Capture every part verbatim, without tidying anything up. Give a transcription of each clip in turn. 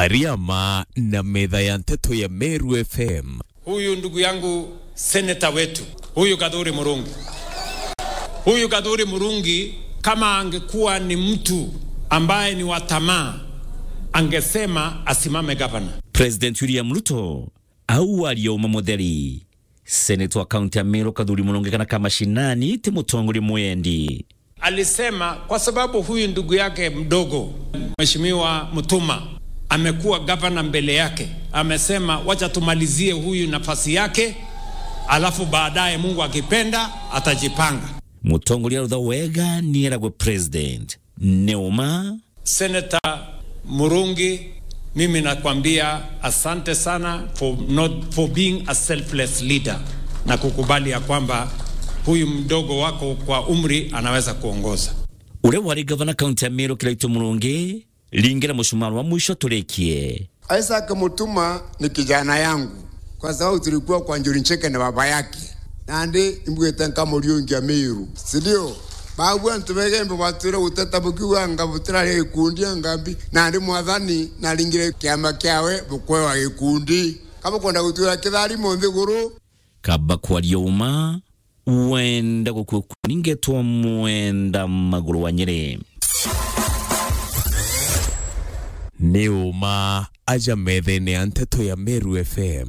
Ariama na metha ya nteto ya Meru F M. Huyu ndugu yangu seneta wetu, huyu Gathuri Murungi. Huyu Gathuri Murungi, kama angekuwa ni mtu ambaye ni wa tamaa, angesema asimame gavana. President William Ruto au aria uma mutheri. Seneta wa kaunti ya Meru Gathuri Murungi kana ka mashinani ti mutongoria mwendi. Alisema kwa sababu huyu ndugu yake mdogo, Mheshimiwa Mutuma, amekuwa gavana mbele yake, amesema, "Wacha tumalizie huyu nafasi yake, alafu baadaye Mungu akipenda atajipanga." Mutongoria rutha wega ni eragwe president. Ni uma. Senator Murungi, mimi nakwambia asante sana for not, for being a selfless leader na kukubali ya kwamba huyu mdogo wako kwa umri anaweza kuongoza. Uria wari gavana kaunti ya Meru Kiraitu Murungi, ringira mucumaa wa mwisho turikie. Isaac Mutuma ni kijana yangu, kwa sababu tulikuwa kwa Njuri Ncheke na baba yake. Nandi imbwite nkamuriungia Meru, si ndio? Babu antu begembe batwire guteta bukiuga anga butirari gikundi anga mbi. Nandi Mwathani naringire kiama kiawe bukwewa gikundi. Kabukwenda gutwira kitharimo nthiguru. Kaba kwaria uma, wenda gukua kuningetwa mwenda maguru wa Nyeri. Ni uma aja methene ya nteto ya Meru F M.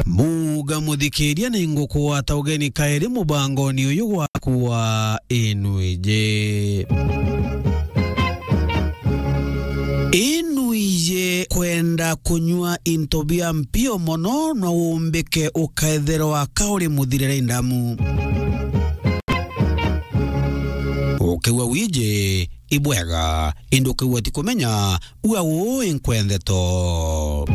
Muga muthikiria ni ngukugwata ugeni kairi mubangoni uyu gwaku wa Inuije. Inuije kwenda kunyua into bia mpio mono no umbike ukaethirwa ka uri muthirire ndamu. Ukiigua wiji, ibwega, indi ukiigua ti kumenya, ua uu inkwendeto.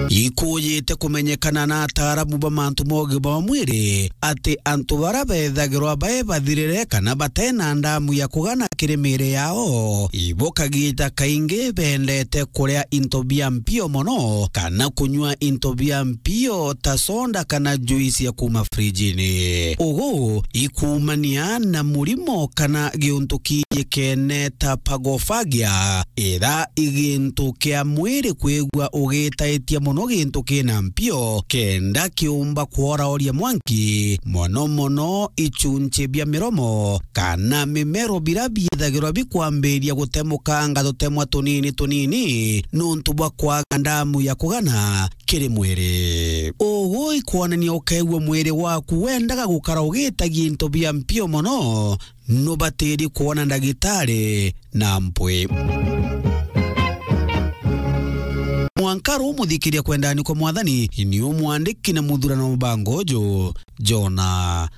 Ikujite kumenyekana na ataaramu ba mantu ma ugima bwa mwiri ati antu bara bethagirwa bai bathirire kana batena ndamu ya kugana kiri miiri yao, ibo kagita kaingi bendete kuria into bia mpio mono kana kunyua into bia mpio ta soda kana juice ya kuma frijini. Ugu ikumania na murimo kana giuntu kiijikene ta phagofagia, ira i gintu kia mwiri kwigua ugitaitia mono gintu kina mpio, kenda kiumba kworaoria mwanki, mono mono ichunchi bia miromo kana mimero bira biithagirwa bikwambiria gutemukanga tutemwa tunini tunini nuntu bwa kwaga ndamu ya kugana kiri mwiri. Ugu ikwonania ukeegua mwiri waku wendaga gukara ugitagia into bia mpio mono, nubatiri kwona ndagitari na mpwi. Mwanka ru muthikiria kwendani kwa Mwathani, ni umwandiki na muthurano mubango uju, Jona